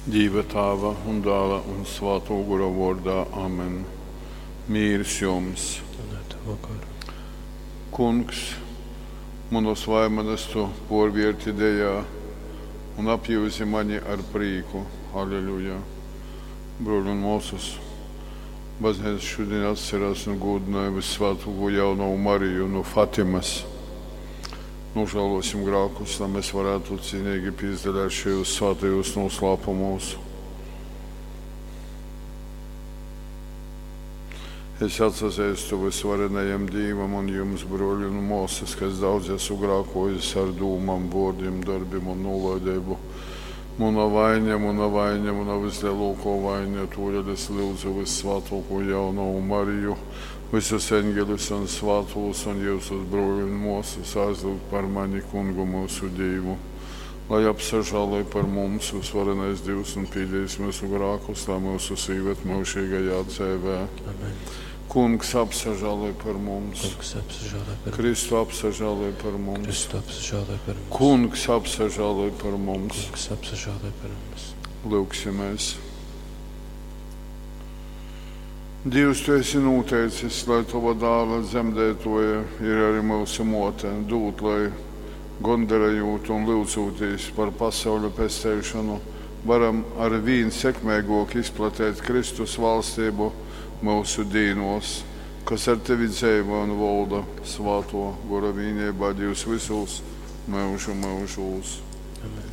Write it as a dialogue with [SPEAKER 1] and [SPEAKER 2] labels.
[SPEAKER 1] Dīva Tāva un Dāla un Svātō Gora vōrdā. Amen. Mīrs jums!
[SPEAKER 2] Un ar tavu goru.
[SPEAKER 1] Kungs, munas vaimanas tu pōrvērti dejā un apjūzi mani ar prīku. Aleluja. Brōļi un mōsas, baznīca šodien atcerās un gūdināja Vissvētāko jaunavu Mariju no Fatimas. Nožēlosim grēkus, lai mēs varētu cienīgi piedalīt šajos svētajos noslēpumos. Es atsazīstu visvarenajam Dievam un jums, broļi un māsas, ka es daudz esmu grēkojis ar dūmām, vārdiem, darbiem un nolaidību. Mana vaina, mana vaina, mana vislielākā vaina, todēļ es lūdzu Vissvētāko jaunavu Mariju, visus eņģeļus un svētos un jūsus broļu un māsas aizlūgt par mani kungu mūsu Dievu. Lai apsažāloj par mums visvarenais Dievs un pīdīs mūsu grēkus, lai mūsu sīvet mūžīgajā dzīvē.
[SPEAKER 2] Amen.
[SPEAKER 1] Kungs apsažāloj par mums.
[SPEAKER 2] Kungs apsažāloj par mums.
[SPEAKER 1] Kristu apsažāloj par mums.
[SPEAKER 2] Kristu apsažāloj par mums.
[SPEAKER 1] Kungs apsažāloj par mums.
[SPEAKER 2] Kungs apsažāloj par mums.
[SPEAKER 1] Lūgsimies. Dievs, tu esi noteicis, lai tava dāla dzemdētoja ir arī mūsu mote, dūt, lai gondarējot un lūdzoties par pasauļa pesteišanu, varam ar vien sekmīgāk izplatīt Kristus valstību mūsu dīnos, kas ar tevi dzīvo un valda svāto gora vienībā Dievs visos mūžu mūžos.
[SPEAKER 2] Amen.